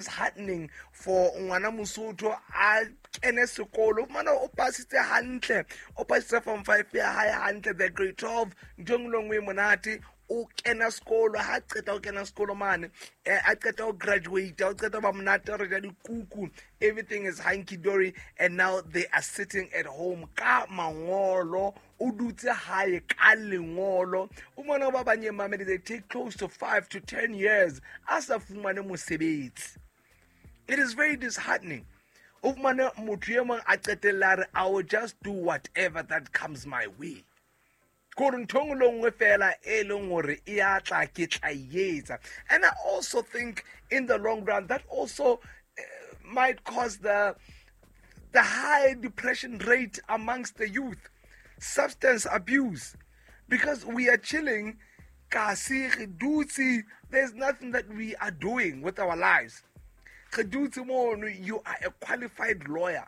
Disheartening for ngwana Mosotho a kene sekolo, fumana o pasitse hantle, o pasitse form 5 ya hae hantle, the grade 12, ntho engwe le nngwe e monate, o kena sekolo. Ha qeta o kena sekolo mane, a qeta o graduate, o qeta ba monate, re ja dikuku, everything is hunky dory, and now they are sitting at home ka mangolo. O dutse hae ka lengolo. O mona ba banye mamedi, they take close to 5 to 10 years a sa fumane mosebetsi. It is very disheartening. O fumane motho e mong a qetella re, "I will just do whatever that comes my way," kore ntho engwe le nngwe fela e leng gore e a tla, ke tla etsa. And I also think in the long run that also might cause the high depression rate amongst the youth, substance abuse, because we are chilling kasi, re dutse, there's nothing that we are doing with our lives. Re dutse mono. You are a qualified lawyer,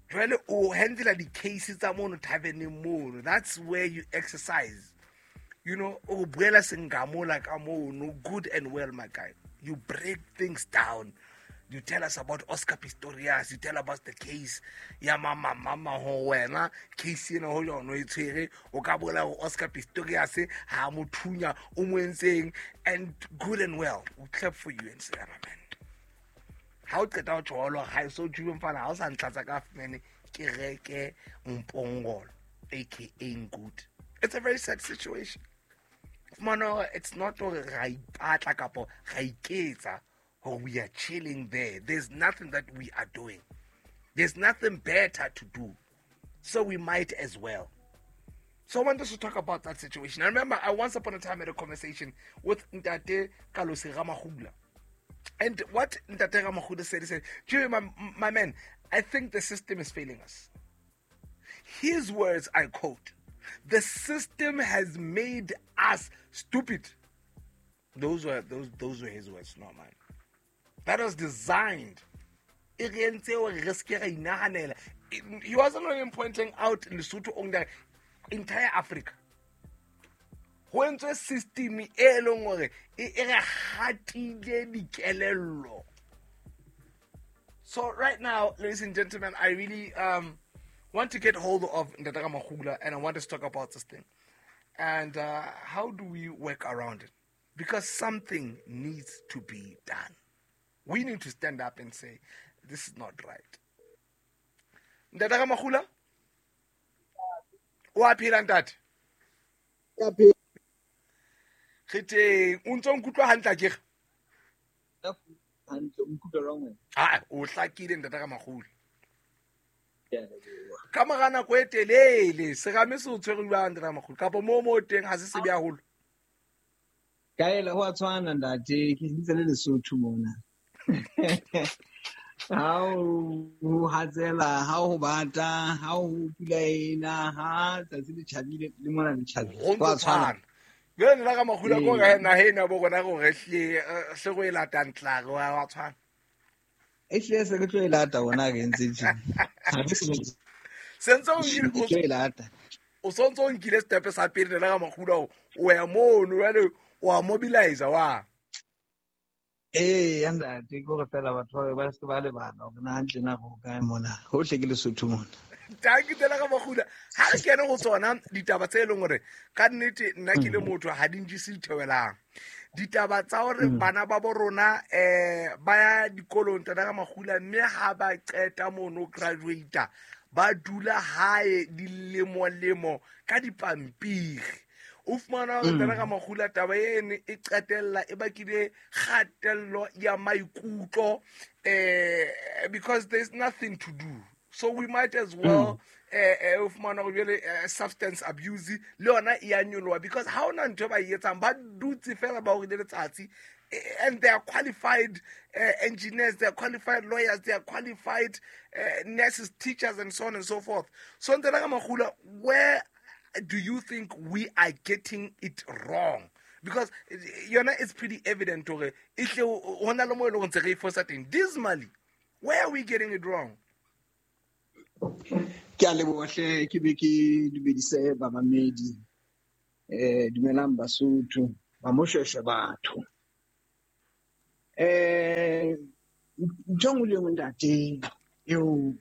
jwale o handle di-case tsa mono taverneng mono. That's where you exercise. O buela sengamola ka mono, good and well, my guy. You break things down, you tell us about Oscar Pistorius, you tell about the case ya mama mama ho wena, case ena ho yona e tshwere, o ka bolela hore Oscar Pistorius ha mo thunya, o mo entseng, and good and well, we clap for you and say, "Amen." Ha o qeta ho tjholo ha e so tjube, mfana, ha o sa ntlatsa ka fumane ke reke mpongolo, aka good. It's a very sad situation. Fumana it's not hore ra ipatla kapo ra iketsa or we are chilling there. There's nothing that we are doing, there's nothing better to do, so we might as well. So I want us to talk about that situation. I remember I once upon a time had a conversation with Ntate Kalosi Ramahula. And what Ntate Ramahula said, he said, "Jimmy, my man, I think the system is failing us." His words, I quote, "The system has made us stupid." Those were his words, not mine. That was designed. E re entse hore re se ke ra inahanela. He wasn't only pointing out Lesotho only, entire Africa. Ho entswe system e leng hore e re hatile dikelello. So right now, ladies and gentlemen, I really want to get hold of Ntate Ramahula, and I want us to talk about this thing. And how do we work around it? Because something needs to be done. We need to stand up and say, "This is not right." Ntate Ramahula? O a phela, ntate? Re teng. O ntso nkutlwa hantle akere? Hantle, o nkutlwa jwang wena? Ah, o hlakile, ntate Ramahula. Ka mora nako e telele, serame se o tshwere jwang, ntate Ramahula? Kapa moo teng ha se sebe haholo? Kaela, ho a tshwana, ntate, ke ntse le Lesotho mona. Ha o hatsela, ha ho bata, ha ho pula ena, ha tsatsi le tjhabile le mona le tjhabile. Ho Ho a ntso tshwana. tshwana. Jwale nna ka Makgula ko re naheng ya bo rona re hle se go e latang tlare wa tshwana. Ehlile se re tlo e lata rona re entse tje. Ha re se Sentse o re tlo e lata. O sontso o nkile step sa pele, nna ka Makgula, o ya mono jwale, o a mobilize wa. Ee, ya ntate, ke hore fela batho ba se ba lebala hore na hantle na ho kae mona. Hohle ke Lesotho mona. Tanki tsela ka Makgula, ha re kene ho tsona ditaba tse leng hore ka nnete nna ke le motho ha di njese ditheohelang. Ditaba tsa hore bana ba bo rona ba ya dikolong, tata ka Makgula, mme ha ba qeta mono graduate ba dula hae dilemo-lemo ka dipampiri. O fumana hore, tata ka Makgula, taba ene e qetella e bakile kgatello ya maikutlo, because there's nothing to do. So we might as well o fumana hore jwale substance abuse le yona e ya nyoloha, because ha hona ntho e ba e etsang, ba dutse fela ba horile letsatsi, and they are qualified engineers, they are qualified lawyers, they are qualified nurses, teachers, and so on and so forth. So Ntate ka Makgula, where do you think we are getting it wrong? Because yona it's pretty evident hore ehle ho na le mo e leng hore ntse re e fosa teng dismally. Where are we getting it wrong? Ke a leboha hle, ke be ke dumedise bamamedi. Dumelang Basotho, ba Moshweshwe batho. Ntho e nngwe le e nngwe ntate eo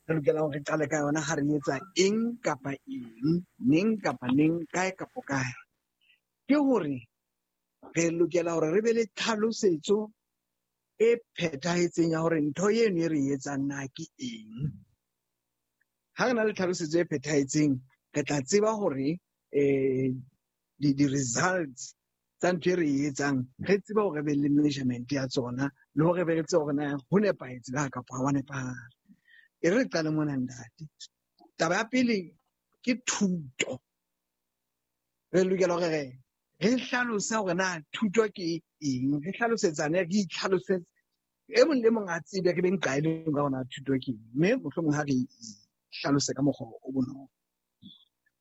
re lokelang hore re qale ka yona ha re etsa eng kapa eng, neng kapa neng, kae kapa kae, ke hore re lokela hore re be le tlhalosetso e phethahetseng ya hore ntho eno e re etsang na ke eng. Ha re na le tlhalosetso e phethahetseng, re tla tseba hore di-results tsa ntho e re e etsang, re tsebe hore re be le measurement ya tsona, le hore be re tsebe hore na ho nepahetse na kapa ha wa nepahala. E re qale mona ntate. Taba ya pele ke thuto. Re lokela hore re hlalose hore na thuto ke eng, re hlalosetsane, re itlhalosetse. E mong le mong a tsebe, re be nqa e leng ka hore na thuto ke eng. Mme mohlomong ha re hlalose ka mokgwa o bonolo.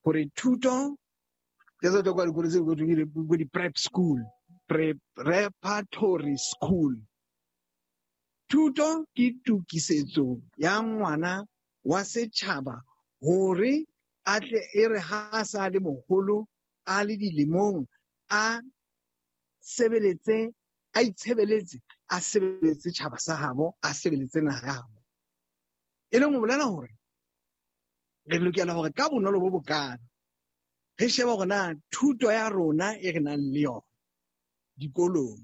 Hore thuto ke tsa tlo kwa dikolo tse go thweng ke di-prep school, preparatory school. Thuto ke tokisetso ya ngwana wa setjhaba hore a tle e re ha a sa le moholo, a le dilemong, a sebeletse, a itshebeletse, a sebeletse tjhaba sa habo, a sebeletse naha ya habo. E leng ho bolela hore re lokela hore ka bonolo bo bokana re shebe hore na thuto ya rona e re nang le yona dikolong,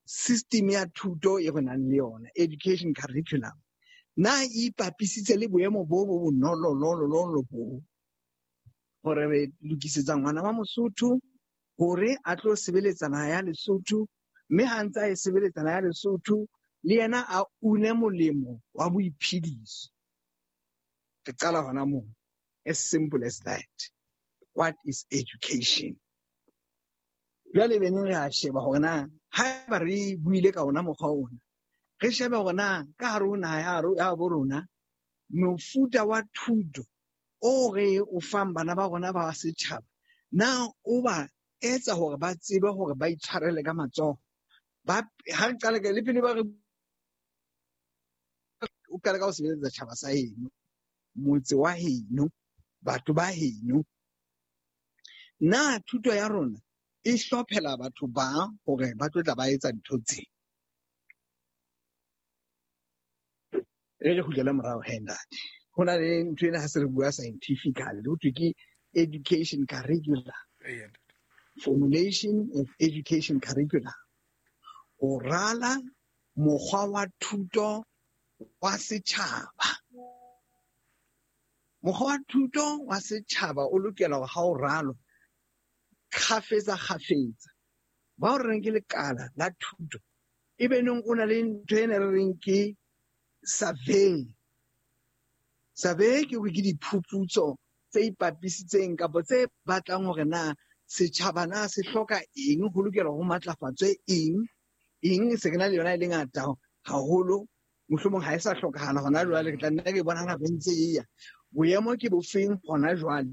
system ya thuto e re nang le yona, education curriculum, na e ipapisitse le boemo bo bo bonololololo bo hore re lokisetsa ngwana wa Mosotho hore a tlo sebeletsa naha ya Lesotho, mme ha ntse a e sebeletsa naha ya Lesotho le yena a une molemo wa boiphediso. Re qala hona moo. As simple as that. What is education? Jwale be neng re a sheba hore na haeba re buile ka ona mokgwa ona, re shebe hore na ka hare ho naha ya bo rona mofuta wa thuto o re o fang bana ba rona ba setjhaba, na o ba etsa hore ba tsebe hore ba itshwarele ka matsoho. Ba ha re qale ka le pele ba re o qale ka ho sebeletsa tjhaba sa heno, motse wa heno, batho ba heno. Na thuto ya rona e hlophela batho ba hore ba tlo tla ba etsa ntho tse? Re re kgutlele morao he ntate. Ho na le ntho ena ha se re bua scientifically, ho thwe ke education curriculum. Formulation of education curriculum. Ho rala mokgwa wa thuto wa setjhaba. Mokgwa wa thuto wa setjhaba o lokela hore ha o ralwa kgafetsa kgafetsa, ba o reng ke lekala la thuto, e be neng o na le ntho ena re reng ke survey. Survey ke hore ke diphuputso tse ipapisitseng kapa tse batlang hore na setjhaba na se hloka eng, ho lokela ho matlafatswe eng, eng se ke na le yona e le ngata haholo, mohlomong ha e sa hlokahala hona jwale, re tla nna re bona nako e ntse e ya. Boemo ke bofeng hona jwale?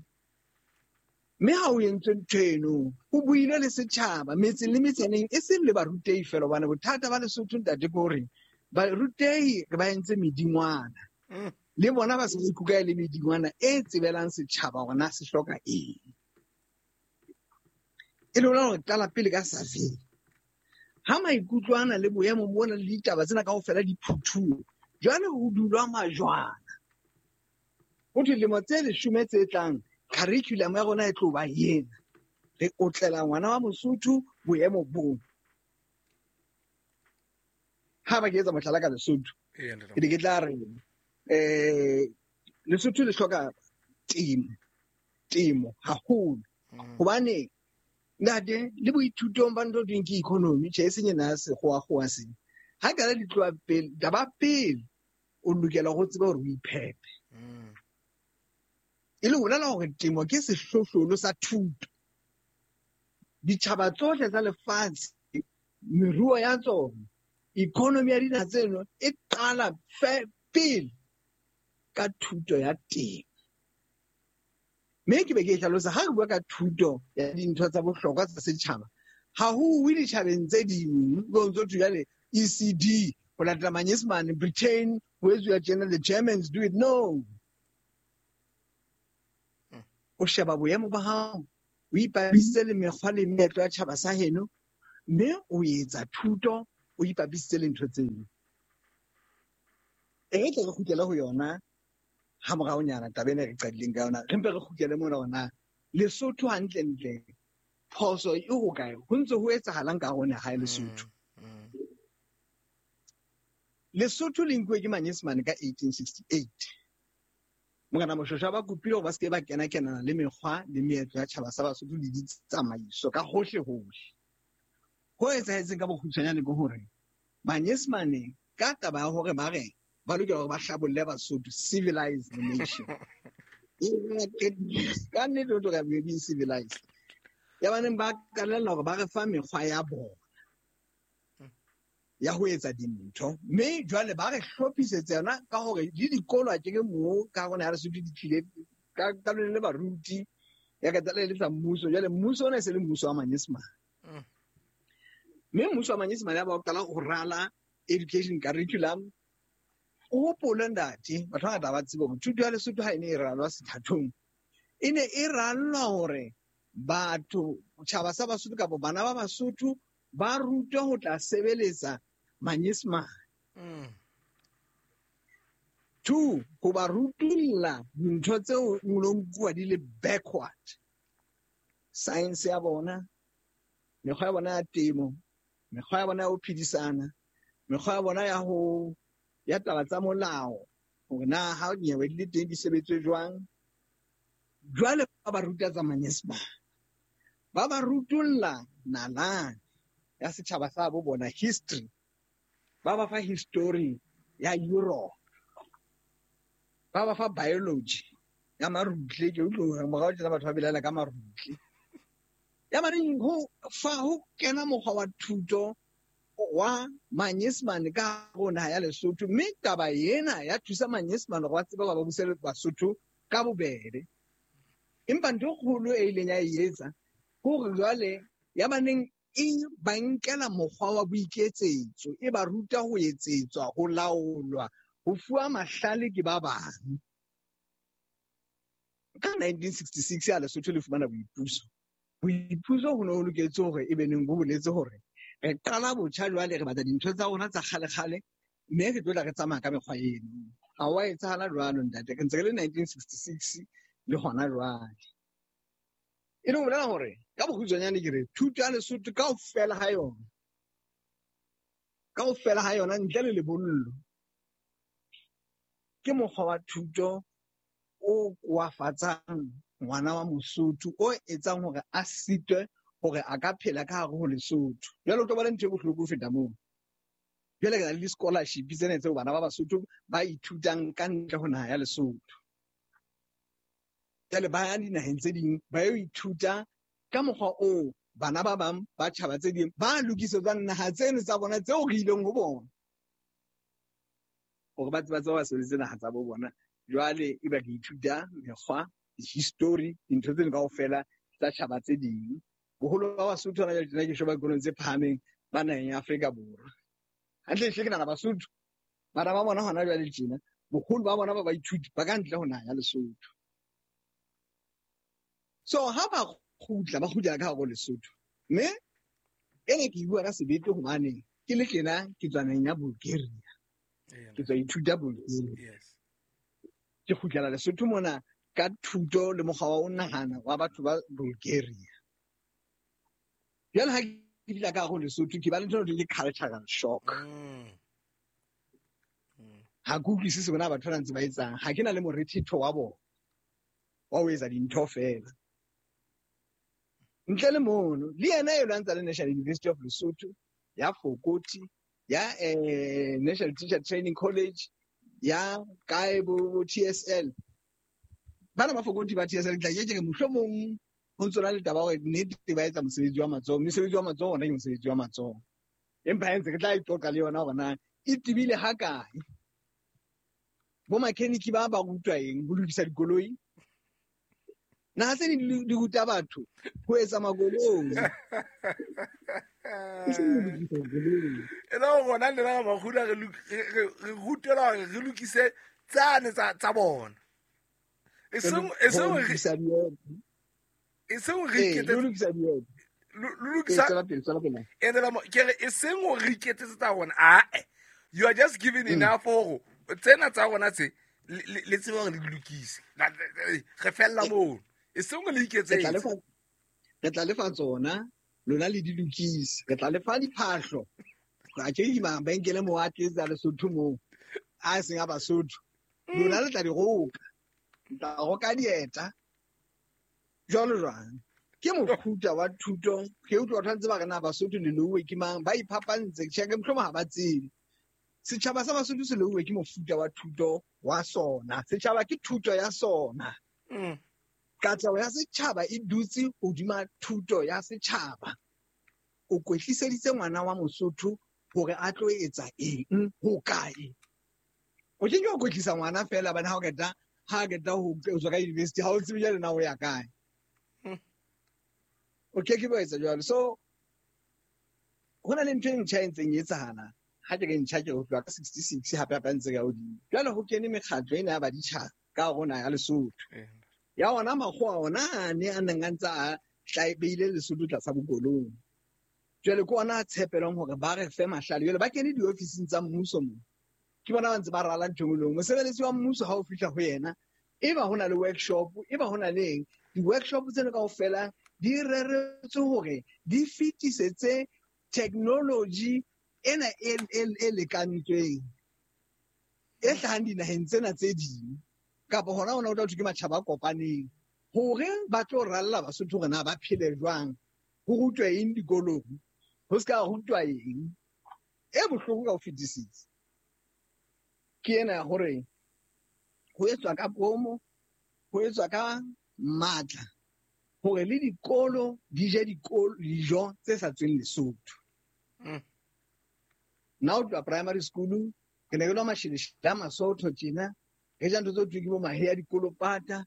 Mme ha o entswe ntho eno, ho builwe le setjhaba metseng le metsaneng, e seng le barutehi feela, hobane bothata ba Lesotho ntate ke hore barutehi re ba entse medingwana. Le bona ba se ba ikuka e le medingwana e tsebelang setjhaba hore na se hloka eng. E le hore qala pele ka survey. Ha maikutlo ana le boemo bona le ditaba tsena kaofela di phuthuwe, jwale ho dulwa majwana. Ho thwe dilemo tse 10 tse tlang, curriculum ya rona e tlo ba ena. Re otlela ngwana wa Mosotho boemo bo. Ha ba ke etsa mohlala ka Lesotho, ke ne ke tla re, Lesotho le hloka temo haholo. Hobane ntate le boithutong ba ntho thweng ke economy, tjhe, e seng ena ya sekgowa-kgowa sena. Ha ka di tloha pele, taba pele o lokela ho tseba hore o iphepe. E le ho bolela hore temo ke sehlohlolo sa thuto. Ditjhaba tsohle tsa lefatshe, meruo ya tsona, economy ya dinaha tseno e qala pele ka thuto ya temo. Mme ke be ke e hlalosa ha re bua ka thuto ya dintho tsa bohlokwa tsa setjhaba, ha ho uwe ditjhabeng tse ding, ho ntso thwe jwale ECD, ho latela Manyesemane, Britain, ho etsuwa tjena, the Germans do it. No. O sheba boemo ba hao, o ipapisitse le mekgwa le meetlo ya tjhaba sa heno, mme o etsa thuto o ipapisitse le ntho tseno. E re tle re kgutlele ho yona ha moraonyana taba ena e re qadileng ka yona, re mpe re kgutlele mona hore na Lesotho hantlentle phoso e hokae, ho ntse ho etsahalang ka hare ho naha ya Lesotho. Lesotho le nkuwe ke Manyesemane ka 1868. Morena Moshweshwe ba kopile hore ba se ke ba kena-kenana le mekgwa le meetlo ya tjhaba sa Basotho le ditsamaiso ka hohle-hohle. Ho etsahetseng ka bokgutshwanyane ke hore Manyesemane ka taba ya hore ba re ba lokela hore ba hlabolle Basotho, civilized the nation. Ka nnete o tloga we being civilized. Ya baneng ba qalella hore ba re fa mekgwa ya bona ya ho etsa dintho, mme jwale ba re hlophisetsa yona ka hore le dikolo a ke moo ka rona ya Lesotho di tlile ka lone le baruti ya ka tsala le tsa mmuso. Jwale mmuso ona e se le mmuso wa Manyesemane, mme mmuso wa Manyesemane ya ba o qala ho rala education curriculum. O hopole ntate, batho ba bangata ba tsebe hore thuto ya Lesotho ha e ne e ralwa sethathong, e ne e rallwa hore batho, tjhaba sa Basotho kapa bana ba Basotho ba rutwe ho tla sebeletsa Manyesemane. Two, ho ba rutulla dintho tseo nlo nkuwa di le backward. Science ya bona, mekgwa ya bona ya temo, mekgwa ya bona ya ho phedisana, mekgwa ya bona ya ho ya taba tsa molao, hore na ha dinyewe di le teng di sebetswe jwang. Jwale ba ba ruta tsa Manyesemane, ba ba rutulla nalane ya setjhaba sa bo bona, history, ba ba fa history ya Europe, ba ba fa biology ya marutle. Ke utlwe morao tjena batho ba belaela ka marutle. Ya baneng ho fa ho kena mokgwa wa thuto wa Manyesemane ka hare ho naha ya Lesotho, mme taba ena ya thusa Manyesemane hore ba tsebe hore ba buse Basotho ka bobebe. Empa ntho e kgolo e ileng ya e etsa ke hore jwale ya baneng e ba nkela mokgwa wa boiketsetso, e ba ruta ho etsetswa, ho laolwa, ho fuwa mahlale ke ba bang. Ka 1966 ya Lesotho le fumana boipuso. Boipuso ho ne ho loketse hore e be neng bo boletse hore re qala botjha jwale, re batla dintho tsa rona tsa kgale-kgale, mme re tlo tla re tsamaya ka mekgwa eno. Ha wa etsahala jwalo ntate, re ntse re le 1966 le hona jwale. E le ho bolela hore ka bokgutshwanyane ke re thuto ya Lesotho kaofela ha yona, kaofela ha yona ntle le lebollo, ke mokgwa wa thuto o koafatsang ngwana wa Mosotho, o etsang hore a sitwe hore a ka phela ka hare ho Lesotho. Jwale o tlo bona ntho e bohloko ho feta moo. Jwale re na le di-scholarship tsena tseo bana ba Basotho ba ithutang ka ntle ho naha ya Lesotho. Jwale ba ya dinaheng tse ding ba yo ithuta ka mokgwa oo bana ba bang ba tjhaba tse ding ba lokisetswang naha tseno tsa bona tseo re ileng ho bona, hore ba tseba ba sebedise naha tsa bo bona. Jwale e ba re ithuta mekgwa, history, dintho tseno kaofela tsa tjhaba tse ding. Boholo ba Basotho hona jwale tjena ke sheba dikolong tse phahameng ba naheng ya Afrika Borwa. Hantle hle ke nahana Basotho bana ba bona hona jwale tjena, boholo ba bona ba baithuti ba ka ntle ho naha ya Lesotho. So ha ba kgutla, ba kgutlela ka hare ho Lesotho. Mme ena ke bua ka sebete hobane ke le tjena ke tswa naheng ya Bulgaria. Ke tswa ithuta Bulgaria. Ke kgutlela Lesotho mona ka thuto le mokgwa wa ho nahana wa batho ba Bulgaria. Jwale ha ke fihla ka hare ho Lesotho, ke ba le ntho e ke cultural shock. Ha ke utlwisise hore na batho ba ntse ba etsang. Ha ke na le morethetho wa bona wa ho etsa dintho feela. Ntle le mono, le yena e lwantsa le National University of Lesotho, ya Fokoti, ya National Teacher Training College, ya kae bo TSL. Bana ba Fokoti ba TSL, ke tla ke re mohlomong ho ntso na le taba hore nnete ba etsa mosebetsi wa matsoho. Mosebetsi wa matsoho ona ke mosebetsi wa matsoho. Empa ha ntse re tla e qoqa le yona hore na e tebile ha kae. Bo mechanic ba ba rutwa eng ho lokisa dikoloi? Naha tse ding di ruta batho ho etsa makoloi. E le hore rona le rona makgula re rutela hore re lokise tsane tsa bona. E seng re Lokisa ke re e seng hore re iketsetse tsa rona ae you are just giving enough hore tsena tsa rona tse le tsebe hore le di lokise re fella moo e seng le iketsetse re tla lefa tsona lona le di lokise re tla lefa diphahlo a ke di mabenkele mo a tletsa Lesotho moo a seng a Basotho lona le tla di roka tla roka dieta jwalo jwang ke mofuta wa thuto ke utlwa batho ba ntse ba re na Basotho le louwe ke mang ba iphapantse tjhe ke mohlomong ha ba tsebe setjhaba sa Basotho se louwe ke mofuta wa thuto wa sona setjhaba ke thuto ya sona katleho ya setjhaba e dutse hodima thuto ya setjhaba o kwetliseditse ngwana wa Mosotho hore a tlo etsa eng ho kae o ke ke o kwetlisa ngwana fela bana ha o qeta ha qeta ho tswa ka university ha o tsebe jwale na o ya kae o ke ke ba etsa jwalo so ho na le ntho e ntjha e ntseng e etsahala ha ke re ntjha ke ho tloha ka 66 hape hape ntse ka hodimo jwale ho kene mekgatlo ena ya baditjhaba ka rona ya Lesotho ya ona makgowa ona a ne a neng a ntse a beile Lesotho tlasa bokolong jwale ke ona a tshepelwang hore ba re fe mahlale jwale ba kene diofising tsa mmuso mo ke bona ba ntse ba rala ntho e nngwe mosebeletsi wa mmuso ha o fihla ho yena e ba ho na le workshop e ba ho na le eng di-workshop tseno kaofela di reretswe hore di fetisetse technology ena e lekantsweng e hlahang dinaheng tsena tse ding kapa hona hona o tla thwe ke matjhaba a kopaneng hore ba tlo ralla Basotho hore na ba phele jwang ho rutwe eng dikolong ho se ka rutwa eng e bohloko ka ho fetisisa ke ena ya hore ho etswa ka bomo ho etswa ka matla hore le dikolo di je dijo tse sa tsweng Lesotho nna ho tloha primary school ke ne ke nwa masheleshele a Masotho tjena re ja ntho tse thweng ke bo mahe a dikolopata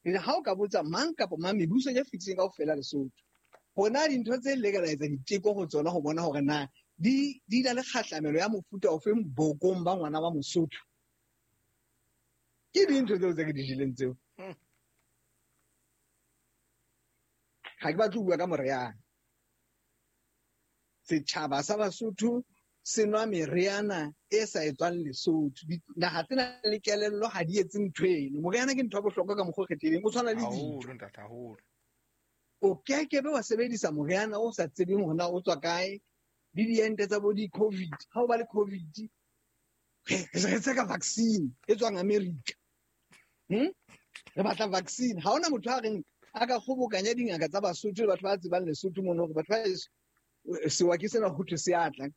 ha o ka botsa mang kapa mang mebuso e fetileng kaofela Lesotho hona dintho tse le ka etsa diteko ho tsona ho bona hore na di na le kgahlamelo ya mofuta ofeng bokong ba ngwana wa Mosotho ke dintho tseo tse ke di jeleng tseo ha ke batle ho bua ka moriana setjhaba sa Basotho se nwa meriana e sa etswang Lesotho naha tsena le kelello ha di etse ntho eno moriana ke ntho ya bohlokwa ka mokgwa o kgethehileng o tshwana le dijo o keke be wa sebedisa moriana o sa tsebeng hore na o tswa kae le diente tsa bo di-COVID ha o ba le COVID re tseka vaccine e tswang America re batla vaccine ha hona motho a reng a ka kgobokanya dingaka tsa Basotho le batho ba tsebang Lesotho mono hore batho ba sewa ke sena ho thwe se atla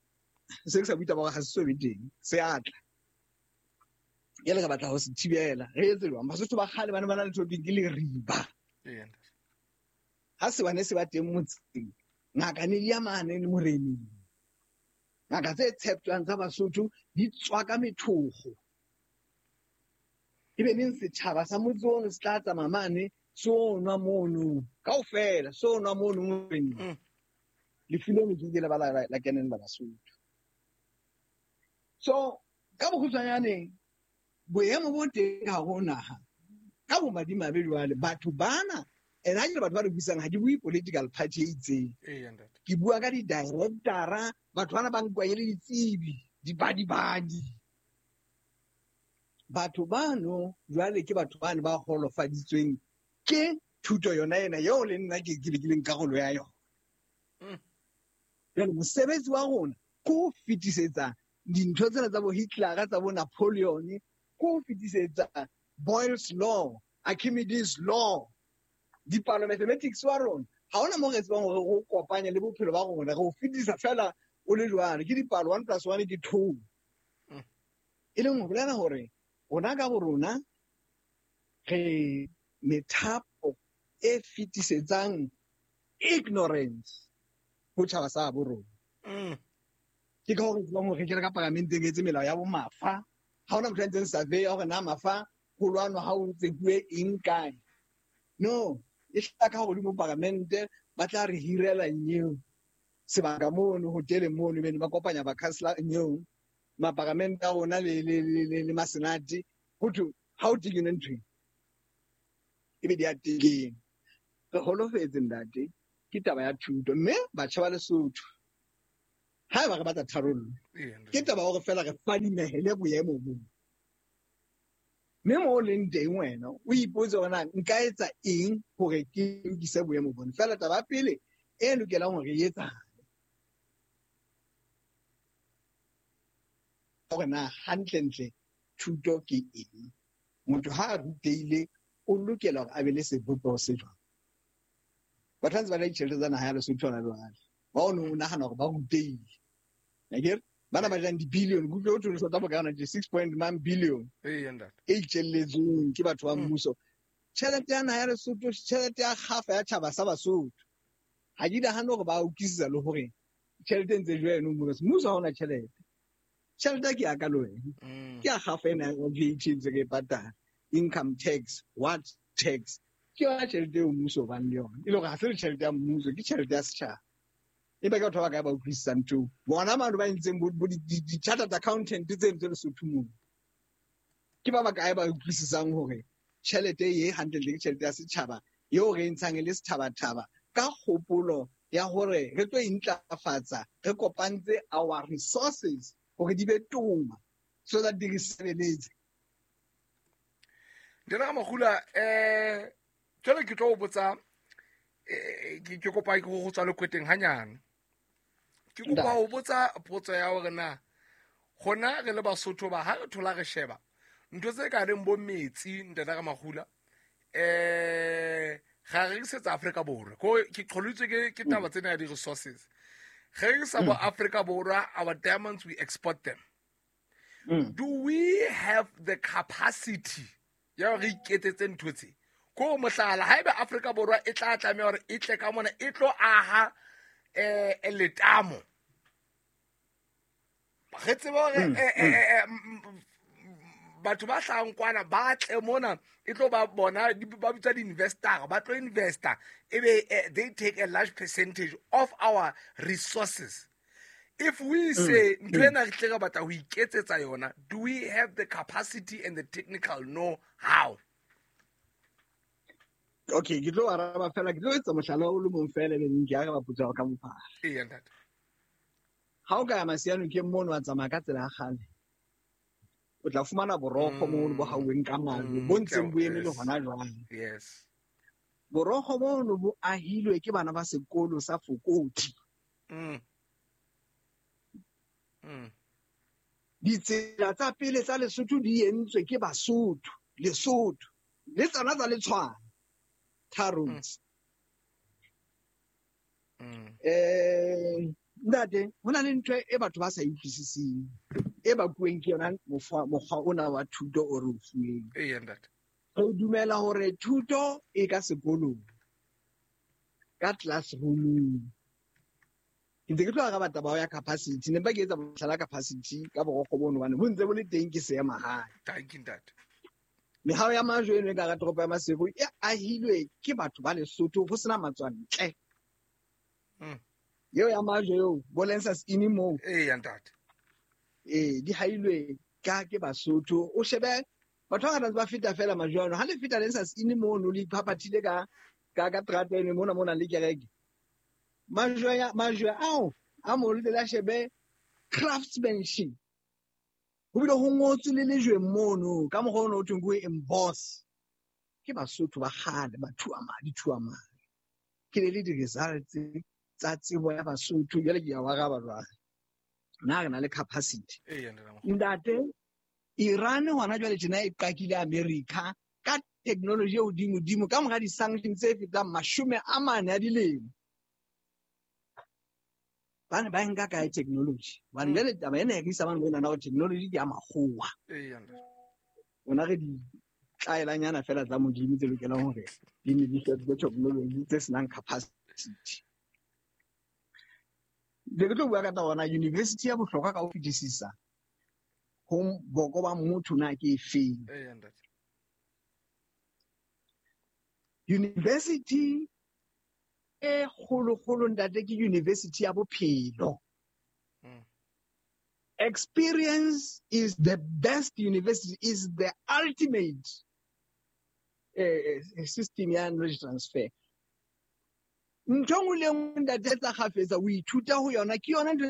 se ke sa bua taba ga se so be teng se atla jale re batla ho se thibela re etse jwang Basotho ba kgale ba ne ba na le ntho ke leriba ha se bane se ba teng motseng ngaka ne di ya mane le moreneng ngaka tse tsheptjwang tsa Basotho di tswa ka methokgo ebe neng setjhaba sa motse ono se tla tsamaya mane se o nwa mono kaofela se o nwa mono moreneng lefu leno ke ke le ba la kenella Basotho so ka bokgutshwanyane boemo bo teng ka hare ho naha ka bomadimabe jwale batho bana and ha ke batho ba re buisang ha ke bue political party e itseng ke bua ka di-directora batho bana ba nkuwa e le ditsebi dibadibadi batho bano jwale ke batho bane ba holofaditsweng ke thuto yona ena eo le nna ke ke leng karolo ya yona jwale mosebetsi wa rona ke ho fetisetsa dintho tsena tsa bo Hitler tsa bo Napoleon ke ho fetisetsa Boyle's law Archimedes law dipalo mathematics wa rona ha hona mo re tsebang hore re kopanye le bophelo ba rona re o fetisa fela o le jwalo ke dipalo 1 + 1 ke 2 e leng ho bolela hore rona ka bo rona re methapo e fetisetsang ignorance ho tjhaba sa bo rona ke ka hore tsebang hore re kene ka paramenteng etse melao ya bo mafa ha hona motho a ntseng survey ya hore na mafa ho lwanwa ha o tsekuwe eng kae no e hlaka hodimo paramente ba tla re hirela nyeo sebaka mono hoteleng mono bene ba kopanya ba councilor nyeo maparamente a rona le masenate ho thwe ha o tekene ntho e be di a tekeng re holofetse ntate Ke taba ya thuto, mme batjha ba Lesotho haeba re batla tharollo, ke taba hore fela re fadimehele boemo bo. Mme mo o leng teng wena o ipotse hore na nka etsa eng hore ke lokise boemo bona. Fela taba ya pele e lokelang hore e etsahale hore na hantlentle thuto ke eng. Motho ha a rutehile o lokela hore a be le sebopeho se jwang. Batho ba ntse ba ja ditjhelete tsa naha ya Lesotho hona jwale, ba o neng o nahana hore ba rutehile. Akere bana ba jang di-billion, ke utlwe ho thwe South Africa hona tje 6.9 billion e itjelletsweng ke batho ba mmuso. Tjhelete ya naha ya Lesotho, tjhelete ya kgafa ya tjhaba sa Basotho. Ha ke nahane hore ba utlwisisa le hore tjhelete e ntse jwa eno mmuso. Mmuso ha ona tjhelete. Tjhelete ke ya ka le wena. Ke ya kgafa ena ya VAT ntse re e patala. Income tax, what tax. Ke yona tjhelete eo mmuso o bang le yona. E le hore ha se le tjhelete ya mmuso, ke tjhelete ya setjhaba. Empa ke batho ba bakae ba utlwisisang ntho eo? Bona bano ba entseng bo di-chartered accountant tseno tse Lesotho moo. Ke ba bakae ba utlwisisang hore tjhelete e hantlentle ke tjhelete ya setjhaba eo re e ntshang e le sethabathaba ka kgopolo ya hore re tlo intlafatsa, re kopantse our resources hore di be toma so that di re sebeletse. Ntate Ramagula, jwale ke tlo o botsa, ke kopa go tswa lekweteng hanyane. Ke kopa ho botsa potso ya hore na gona re le Basotho ba ha re thola re sheba ntho tse ka reng bo metsi, Ntate Ramagula, ga re rekisetsa Afrika Borwa. Ko ke qholitswe ke taba tsena ya di-resources. Re rekisa bo Afrika Borwa, our diamonds, we export them. Do we have the capacity ya hore re iketsetse ntho tse? Ko mohlala, haeba Afrika Borwa e tla tlameha hore e tle ka mona, e tlo aha letamo. Re tsebe hore batho ba hlahang kwana ba tle mona, e tlo ba bona, ba bitsa di-investor, ba tlo investor, ebe they take a large percentage of our resources. If we say ntho ena re tle re batla ho iketsetsa yona, do we have the capacity and the technical know-how? Okay, ke tlo araba fela, ke tlo etsa mohlala o le mong fela, ebe ke araba potso ya hao ka bophara. Eya, ntate. Ha o ka ya Masiano ke mono wa tsamaya ka tsela ya kgale, o tla fumana borokgo mono bo hauweng ka majwe, bo ntseng bo eme le hona jwale. Borokgo bono bo ahilwe ke bana ba sekolo sa Fokoti. Ditsela tsa pele tsa Lesotho di entswe ke Basotho, Lesotho le tsona tsa Letshwane, tar roads. Ntate, ho na le ntho e batho ba sa e utlwisiseng, e bakuweng ke yona mokgwa ona wa thuto o re o fuweng. Eya, ntate. Re dumela hore thuto e ka sekolong, ka classroom. Ke ntse ke tlo araba taba ya capacity, ne mpa ke etsa mohlala capacity ka borokgo bono hobane bo ntse bo le teng ke seema hae. Thank you, ntate. Mehao ya majwe eno e ka hara toropo ya Maseru e ahilwe ke batho ba Lesotho ho sena matswantle. Eo ya majwe eo, bo Lensas Inn moo. Eya, ntate. Ee, di hailwe ka ke Basotho. O shebe batho ba bangata ba feta fela majwe ano. Ha le feta Lensas Inn mono, le iphaphathile ka terata eno mona mona le kereke. Majwe ao a mo le la shebe craftsmanship. Ho bile ho ngotswe le lejweng mono ka mokgwa ono ho thweng ke ho emboss. Ke Basotho ba kgale, ba thua madi, thua madi. Ke le di-results tsa tsebo ya Basotho. Jwale ke a o araba jwale. Na re na le capacity. Eya, ntate Ramokgopa. Ntate, Iran hona jwale tjena e qakile America ka technology e hodimodimo ka mora di-sanctions tse fetang 40 a dilemo. Ba ne ba nka kae technology? Hobane jwale taba ena e re isa mane ho nahana hore technology ke ya makgowa. Eya, ntate. Rona re di tlaelanyana fela tsa Modimo tse lokelang hore di ne di fetole technology tse senang capacity. Be ke tlo bua ka taba ona, university ya bohlokwa ka ho fetisisa ho boko ba motho na ke efeng? Eya, ntate. University e kgolokgolo, ntate, ke university ya bophelo. Experience is the best university, is the ultimate system ya knowledge transfer. Ntho e nngwe le e nngwe, ntate, etsa kgafetsa o ithuta ho yona, ke yona ntho.